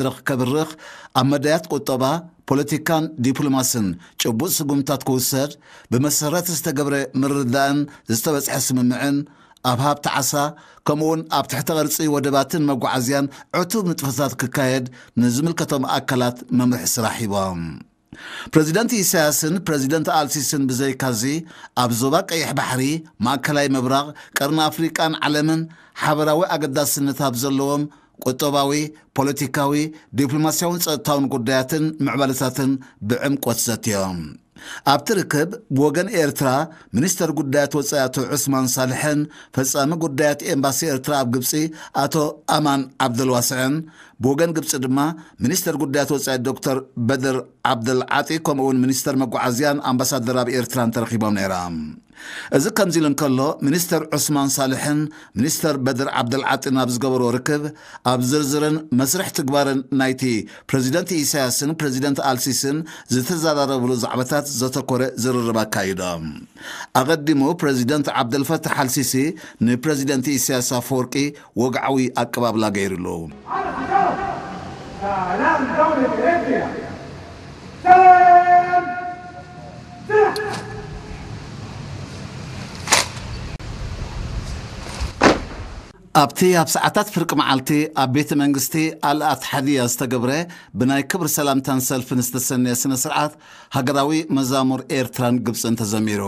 መድረኽ ከብርኽ፣ ኣብ መዳያት ቁጠባ፣ ፖለቲካን ዲፕሎማስን ጭቡጥ ስጉምታት ክውሰድ፣ ብመሰረት ዝተገብረ ምርድዳእን ዝተበጽሐ ስምምዕን፣ ኣብ ሃብቲ ዓሳ፣ ከምኡውን ኣብ ትሕተ ቅርጺ ወደባትን መጓዓዝያን ዕቱብ ንጥፈታት ክካየድ ንዝምልከቶም ኣካላት መምርሒ ስራሕ ሂቦም። ፕረዚደንት ኢሳያስን ፕረዚደንት ኣልሲስን ብዘይካዚ፣ ኣብ ዞባ ቀይሕ ባሕሪ፣ ማእከላይ ምብራቕ፣ ቀርኒ ኣፍሪቃን ዓለምን ሓበራዊ ኣገዳስነት ኣብ ዘለዎም ቁጠባዊ፣ ፖለቲካዊ፣ ዲፕሎማስያውን ጸጥታውን ጉዳያትን ምዕባለታትን ብዕምቆት ዘትዮም። ኣብቲ ርክብ፣ ብወገን ኤርትራ፣ ሚኒስተር ጉዳያት ወጻኢ ኣቶ ዑስማን ሳልሕን ፈጻሚ ጉዳያት ኤምባሲ ኤርትራ ኣብ ግብጺ ኣቶ ኣማን ዓብደልዋስዕን፣ ብወገን ግብጺ ድማ ሚኒስተር ጉዳያት ወጻኢ ዶክተር በድር ዓብደልዓጢ፣ ከምኡውን ሚኒስተር መጓዓዝያን ኣምባሳደር ኣብ ኤርትራን ተረኺቦም ነይሮም። እዚ ከምዚ ኢሉ እንከሎ፣ ሚኒስተር ዑስማን ሳልሕን ሚኒስተር በድር ዓብደልዓጢን ኣብ ዝገበርዎ ርክብ፣ ኣብ ዝርዝርን መስርሕ ትግባርን ናይቲ ፕረዚደንት ኢሳያስን ፕረዚደንት ኣልሲስን ዝተዘራረብሉ ዛዕባታት ዘተኮረ ዝርርብ ኣካይዶም። ኣቐዲሙ ፕረዚደንት ዓብደልፈታሕ ኣልሲሲ ንፕረዚደንት ኢሳያስ ኣፈወርቂ ወግዓዊ ኣቀባብላ ገይሩሉ። سلام دولة إريتريا. سلام. سلام. ኣብቲ ኣብ ሰዓታት ፍርቂ መዓልቲ ኣብ ቤተ መንግስቲ ኣልኣትሓድያ ዝተገብረ ብናይ ክብሪ ሰላምታን ሰልፍን ዝተሰነየ ስነ ስርዓት ሃገራዊ መዛሙር ኤርትራን ግብፅን ተዘሚሩ።